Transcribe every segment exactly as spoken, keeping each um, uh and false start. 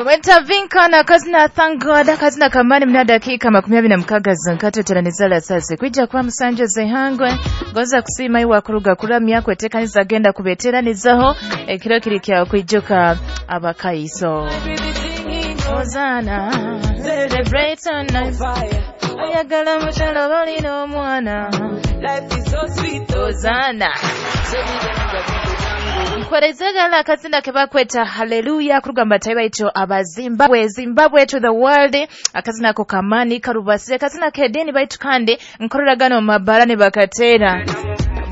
Weta na kazina thank God kazina kamani mna dakika makumi abiri na mukaga zonkato teranizala sase kwijja kwa musanje zehangwe goza kusima iwa kuruga kuramya kwetekaniza agenda kubeteranizaho ekiro kiri kya kwijuka abakaiso Hosanna celebrate on fire ayagala mukyalo balina omwana Life is so sweet Hosanna Nkwerezegala akazina kebakweta hallelujah kurugamba taiba ito aba Zimbabwe Zimbabwe to the world akazina ko kamani karubase akazina kedeni baitu kandi nkororagano mabarani bakatera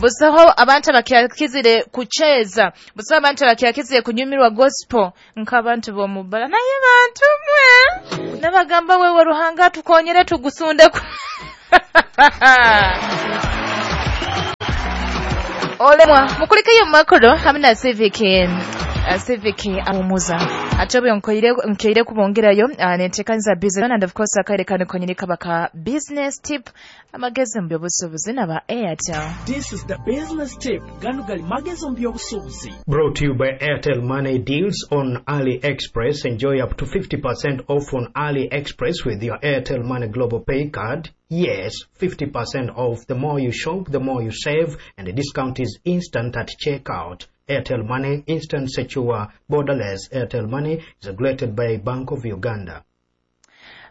busaho abantu abakyakizire kucheza busaho abantu abakyakizire kunyumirwa gospel nk'abantu b'omubala naye bantu mwe nabagamba wewe Ruhanga tukonyere tugusunde olemwa mukulikeyo makoro hamwe na civic uh, civic amumuza atobe nkoire nkeire kubongerayo uh, nentekanza business and of course akaire konyini kabaka business tip amagezi mu by'obusuubuzi n'aba Airtel. This is the business tip gano gali magezi mu by'obusuubuzi Brought to you by Airtel Money deals on AliExpress. Enjoy up to fifty percent off on AliExpress with your Airtel Money Global Pay card. Yes, fifty percent off. The more you shop, the more you save, and the discount is instant at checkout. Airtel Money, instant, secure, borderless. Airtel Money is regulated by Bank of Uganda.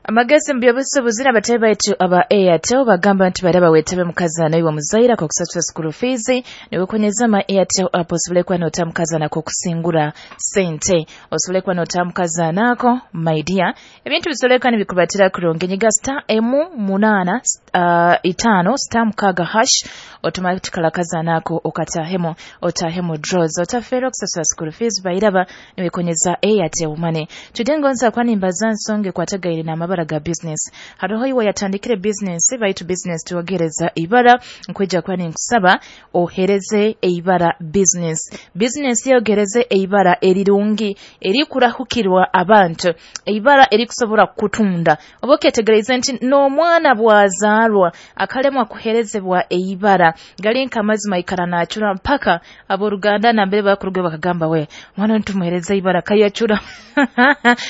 Amagezi mu by'obusuubuzi n'abatebe baitu aba Airtel bagamba nti bali bawetebe mukazana iwe muzaira kwa kusasula school fees niwekonyeza ma Airtel app osobole kuba n'ota mukazana ko kusingura sente osobole kuba n'ota mukazana ako my dear ebintu bisoleka nibikubatira kurungi nyiga star emu munana uh, itano star mukaga hash automatically akazana ako okatahemo otahemo draws otafera okusasula school fees bairaba niwekonyeza Airtel Money tudengonza kwani mbaza nsonge kwatagaire na amabara ga business haroho iwe yatandikire business baitu business tuwagereza ibara nkweja kwani nkusaba ohereze eibara business business yogereze eibara erirungi erikurahukirwa abantu eibara erikusobora kutunda oboketegereza nti n'omwana bwazaalwa akalemwa kuherezebwa eibara galinka amazima ikara nachura mpaka aboruganda nambere bakuruge bakagamba we mwana ntumuhereze ibara kayachura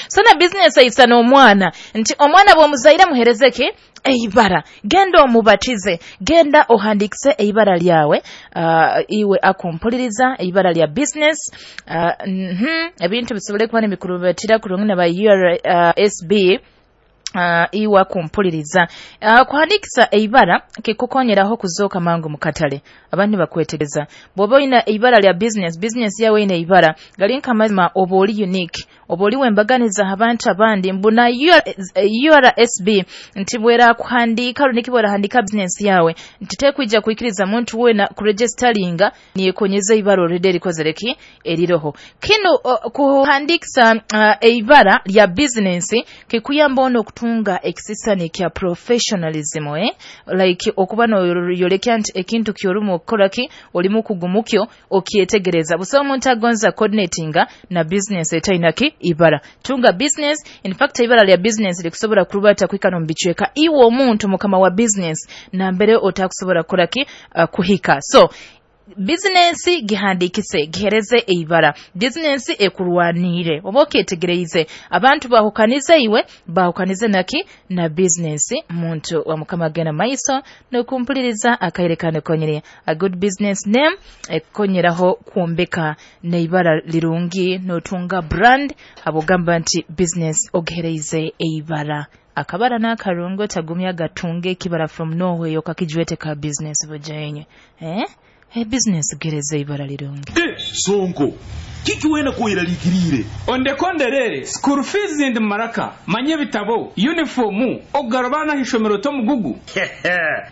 so na business ayisa n'omwana nti omwana bw'omuzaire muherezeke eibara genda omubatize genda ohandikise eibara lyawe uh, iwe akumpuliriza eibara lya business uh, mm-hmm. ebintu bisobole kuba n'emikurubatira kurungi na ba U R S B Uh, iwa kumpuliriza uh, kuhandikisa eibara kikukonyeraho kuzooka mangu mukatale abantu bakwetegeza bw'oba oyina eibara lya business business yawe ina eibara galinka amazima oba oli unique oba oli wembaganiza abantu abandi mbuna U R S B nti bwera kuhandika runiki bwera handika business yawe nti tekwija kuikiriza muntu wena kuregisteringa niyekonyeza ibara already erikozereki eriroho kino uh, kuhandikisa uh, eibara lya business kikuyamba ono kutunga ekisisani kya professionalism eh like okuba no yolekya nti ekintu kyorumu okukoraki olimu kugumukyo okyetegereza buso omuntu agonza coordinatinga na business etainaki ibara tunga business in fact ibara lya business likusobola kurubata kwikano mbichweka iwe omuntu mukama wa business na mbere otakusobola kukoraki uh, kuhika so business gihandikise gihereze eibara business ekurwanire oba okyetegereize abantu bahukanize iwe bahukanize naki na business muntu wa mukama gena maiso nokumpuliriza akairekane konyere a good business name ekonyeraho kwombeka neibara lirungi notunga brand abogamba nti business ogihereize eibara akabara n'akarungo tagumya gatunge ekibara from nowhere yokakijwete ka business bujayenye eh E business gereza ibara lirungi. Eh, sonko. Kiki wena kuiralikirire? Ondekonderere, school fees ndi maraka, manye bitabo, uniformu, ogarabana hishomero to mugugu.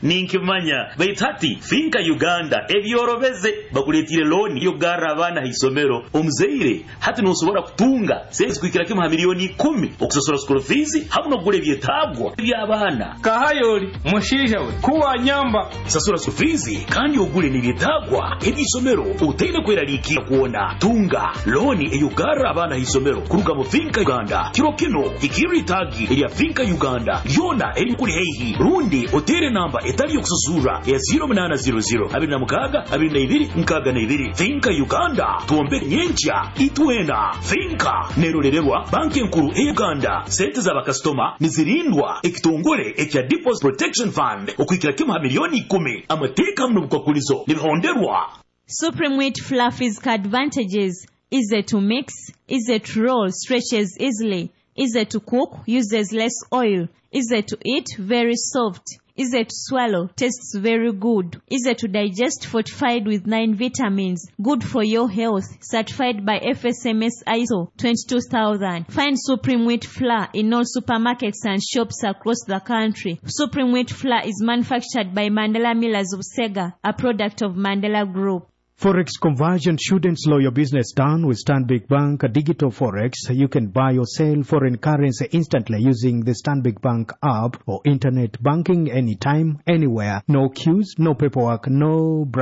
Ninkimanya, baitati Finka Uganda ebyorobeze bakuletire loan yogara abana hisomero. Omuzeire hati nosobora kutunga sezi kuikira kimu ha milioni kumi okusasura school fees hamwe nokugula ebyetabwa by'abaana. Kahayoli, mushija we, kuwa nyamba. Sasura school fees kandi ogule n'ebyetabwa ebyisomero utaine kweralikira kuona. Tunga Uganda. Looni ey'okugarra abaana ha isomero kuruga mu Finca Uganda. Kiro kino hikirra itaagi erya Finca Uganda lyona erikuli haihi, rundi oteere namba etali y'okusasurra eya zero munaana zero zero abiri na mukaaga abiri na ibiri nkaaga na ibiri. Finca Uganda, twombeke nyenkya itwena. Finca nerolererwa Banki Enkuru e Uganda. Sente z'abakasitoma nizirindwa ekitongole ekya Deposit Protection Fund okuhikira kimu ha miliyoni ikumi. Amateeka muno bukwakulizo nibihonderwa. Supreme Wheat Flour physical advantages: easy to mix, easy to roll, stretches easily, easy to cook, uses less oil, easy to eat, very soft, easy to swallow, tastes very good, easy to digest, fortified with nine vitamins, good for your health, certified by F S M S I S O twenty-two thousand. Find Supreme Wheat Flour in all supermarkets and shops across the country. Supreme Wheat Flour is manufactured by Mandela Millers of Sega, a product of Mandela Group. Forex conversion shouldn't slow your business down. With Stanbic Bank Digital Forex, you can buy or sell foreign currency instantly using the Stanbic Bank app or internet banking anytime, anywhere. No queues, no paperwork, no